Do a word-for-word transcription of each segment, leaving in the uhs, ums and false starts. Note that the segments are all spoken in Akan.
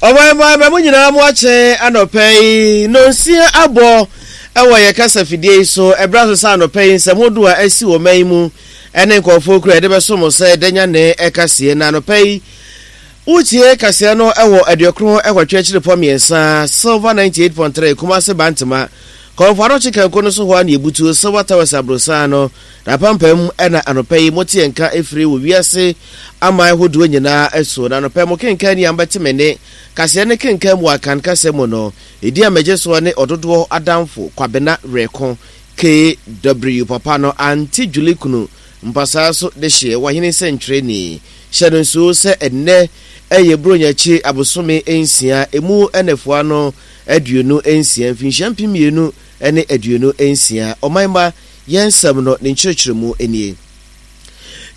Ɔbɛn mo nyinaa, mo akyɛ anɔpɛ yi. Nonsia abɔ ɛwɔ yɛ kasa fidie yi so. Ɛberɛ so sɛ anɔpɛ yi nsɛm hodoɔ a asi wɔ man yi mu ɛne nkɔɔfoɔ kura yɛde bɛso mo sɛ danya ne ɛkaseɛ. Na anɔpɛ yi wotie kaseɛ no ɛwɔ aduɔkron ɛwɔtwe akyiri pɔ mmiɛnsa, Silver ninety-eight point three, Kumase Bantama kɔnfo anɔkye kanko no so hɔ a ne ebutu Silver Towers aborosan no na apampam. Ɛna anɔpɛ yi mote yɛn nka efiri wɔ wiase aman ahodoɔ nyinaa ɛso. Na anɔpɛ mo kenkan ni a mbɛte me ne kaseɛ ne kenkan mu akan kasa mu no, edi a mɛgye soɔ ne ɔdodoɔ adamfo Kwabena Rɛko K W papa no ante Julie kunu mpasaa so de hyeɛ wahene nsɛntwerɛni. Hyɛ no nsuo sɛ ɛnnɛ ɛyɛ Buronya abosome nsia emu ɛnɛfoa no aduonu nsia, mfinhyia mpem mmienu ne aduonu nsia. Ɔman ma yɛn nsɛm no ne nkyerɛkyerɛmu nie.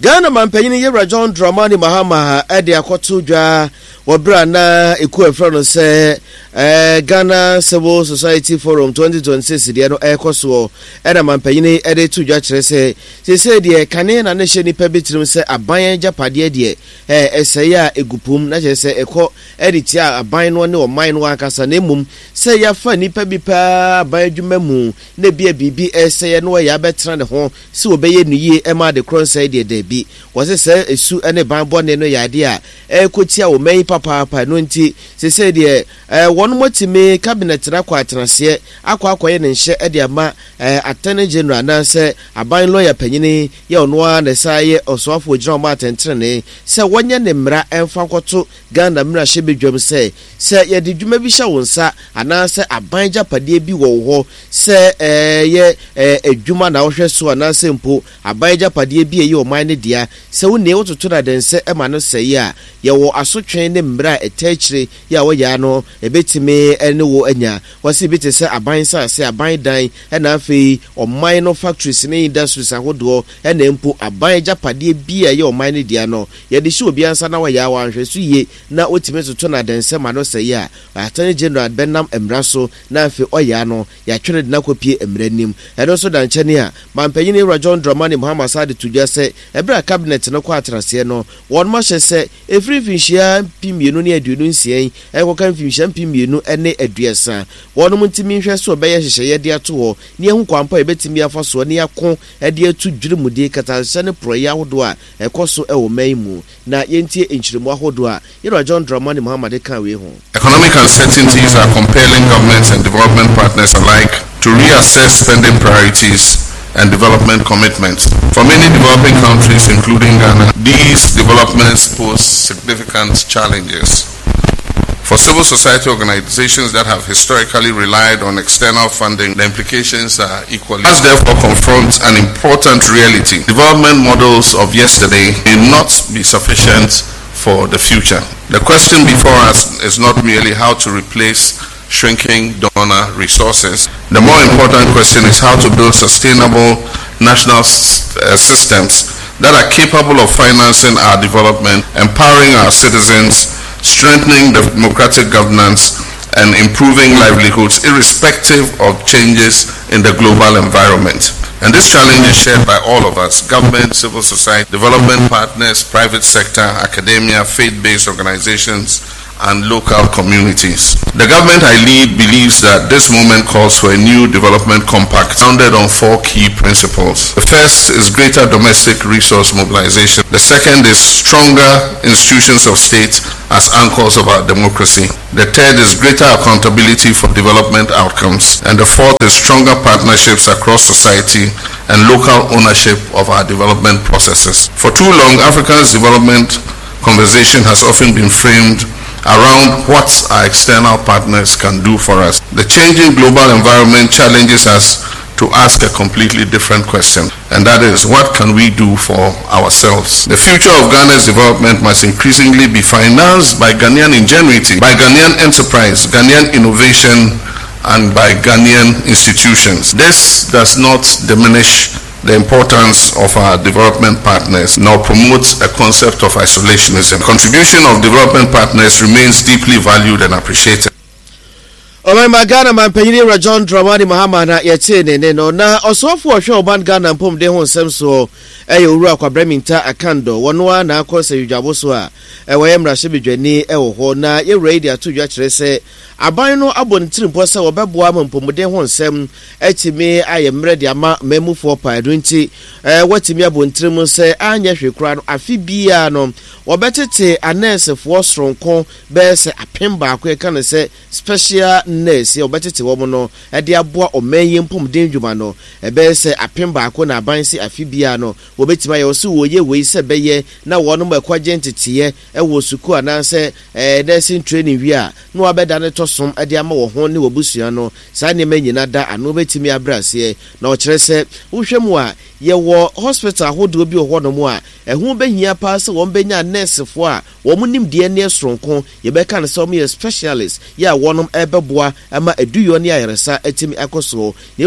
Ghana mampanyin Yɛwura John Dramani Mahama ɛde akɔto dwa wɔ berɛ a na ɛku ɛfrɛ no sɛ eh, Ghana Civil Society Forum twenty twenty-six deɛ no ɛrekɔ soɔ. Ɛna mampanyin ɛde to dwa kyerɛ sɛ seesei deɛ kane na ne hyɛ nipa bi tirim sɛ aban agyapadeɛ deɛ ɛsɛe a ɛgu pom na kyerɛ sɛ ɛkɔ ɛde tia aban no ne ɔman no ankasa, na mmom sɛ yɛafa nipa bi paa aban adwuma mu na ebia biribi ɛsɛeɛ na wɔyɛ abɛtena ne ho sɛ wɔbɛyɛ no yie ɛma ade korɔ nsɛe deɛ, daabi. Wɔsɛ sɛ esu ne ban bɔne no yɛ adeɛ a ɛrekɔtia wɔ man yi papaapa no. Nti seesei deɛ ɛɛ wɔn mo atumi cabinet no akɔ atenaseɛ akɔ akɔyɛ ne nhyɛ ɛde ama ɛɛ Attorney General anaasɛ aban lawyer panyini yɛ ɔno ara na ɛsan yɛ ɔsoafo gyina wɔn atɛntɛnene sɛ wɔnyɛ ne mmara ɛmfa nkɔto Ghana mmarahyɛbadwam sɛ sɛ yɛde dwuma bi hyɛ wo nsa anaasɛ aban gyapadeɛ bi wɔ wo hɔ sɛ ɛyɛ ɛɛ adwuma na wohwɛ so anaasɛ mpo aban gyapadeɛ bi a ɛyɛ ɔman no dea, sɛ wo nea wototo no adɛnsɛ ɛma no sɛe a, yɛwɔ asotwe ne mmerɛ a ɛtɛ akyire yɛ a wɔyɛ ano ɛbɛtumi ne wo anya. Wɔsi bi te sɛ aban nsase, aban dan, ɛna afei ɔman no factories ne industries ahodoɔ, ɛna mpo aban agyapadeɛ bi a ɛyɛ ɔman no dea no, yɛde hyɛ obi ansa na wɔyɛ a wɔanhwɛ so yie na wotumi toto no adɛnsɛ ma no sɛe a, Attorney General bɛnam mmara so na afei ɔyɛ ano yɛatwere de no akɔpie mmara anim. Ɛno nso da nkyɛne a mampanyin Ewura John Dramani Mahama sa de to dwa sɛ ɛberɛ a cabinet no kɔ atenaseɛ no, wɔn ahyɛ sɛ ɛfiri mfinhyia mpem mmienu ne aduonu nsia yi ɛkɔka mfinhyia mpem mmienu ne aduasa, wɔnom ntumi nhwɛ so ɔbɛyɛ nhyehyɛeɛ de ato hɔ ne ɛho kwan pa a yɛbɛtumi afa soɔ ne ako de atu dwirimudie, katahyɛ ne porɔeɛ ahodoɔ a ɛkɔ so ɛwɔ man mu. Na yɛntie nkyerɛmu ahodoɔ a yɛwura John Dramani Mahama de ka wei ho. Economic uncertainties are compelling governments and development partners alike to reassess spending priorities and development commitments. For many developing countries, including Ghana, these developments pose significant challenges. For civil society organizations that have historically relied on external funding, the implications are equally. Us therefore confront an important reality. Development models of yesterday may not be sufficient for the future. The question before us is not merely how to replace shrinking donor resources. The more important question is how to build sustainable national uh, systems that are capable of financing our development, empowering our citizens, strengthening democratic governance, and improving livelihoods irrespective of changes in the global environment. And this challenge is shared by all of us: government, civil society, development partners, private sector, academia, faith based organizations, and local communities. The government I lead believes that this moment calls for a new development compact founded on four key principles. The first is greater domestic resource mobilization. The second is stronger institutions of state as anchors of our democracy. The third is greater accountability for development outcomes. And the fourth is stronger partnerships across society and local ownership of our development processes. For too long, Africa's development conversation has often been framed around what our external partners can do for us. The changing global environment challenges us to ask a completely different question, and that is, what can we do for ourselves? The future of Ghana's development must increasingly be financed by Ghanaian ingenuity, by Ghanaian enterprise, Ghanaian innovation, and by Ghanaian institutions. This does not diminish the importance of our development partners nor promotes a concept of isolationism. Contribution of development partners remains deeply valued and appreciated. Ɔman Ghana mampanyin Ewura John Dramani Mahama na yɛtee ne ne no. Na ɔsoafo a ɔhwɛ ɔman Ghana mpɔmuden ho nsɛm soɔ ɛyɛ Owura Kwabena Mintah Akandoh. Wɔno a na akɔ sɛ yudwabo so a wɔyɛ mmarahyɛbadwani ɛwɔ hɔ na yɛwura yi de ato dwa kyerɛ sɛ aban no abɔ ne tirimpɔ sɛ wɔbɛboa ma mpɔmuden ho nsɛm atumi ayɛ mmerɛ de ama mmamufoɔ paa. Ɛno nti wɔatumi abɔ ntirim sɛ anyɛ hwee koraa no, afe biara no wɔbɛtete anɛɛsefoɔ soronko bɛyɛ sɛ apem baako, yɛka no sɛ special nurse, a wɔbɛtete wɔn no de aboa ɔman yi mpɔmuden dwuma no ɛbɛyɛ sɛ apem baako, na aban sɛ afe biara no wɔbɛtumi ayɛ. Wɔ so wɔyɛ wei sɛ bɛyɛ na wɔnom ɛkɔgye nteteeɛ ɛwɔ sukuu anaasɛ ɛɛ nursing training wie a, na wɔabɛda ne tɔ som de ama wɔn ho ne wɔbusua no. Saa nneɛma nyinaa da ano bɛtumi abrɛ aseɛ, na ɔkyerɛ sɛ wohwɛ mu a, yɛwɔ hospital ahodoɔ bi wɔ hɔnom a ɛho bɛhia paa sɛ wɔn bɛnya nɛɛsefoɔ a wɔn nimdeɛ ne soronko, yɛbɛka no sɛ wɔn yɛ specialist yɛ a wɔnom ɛbɛboa ama aduyɔ ne ayaresa atumi akɔ soɔ.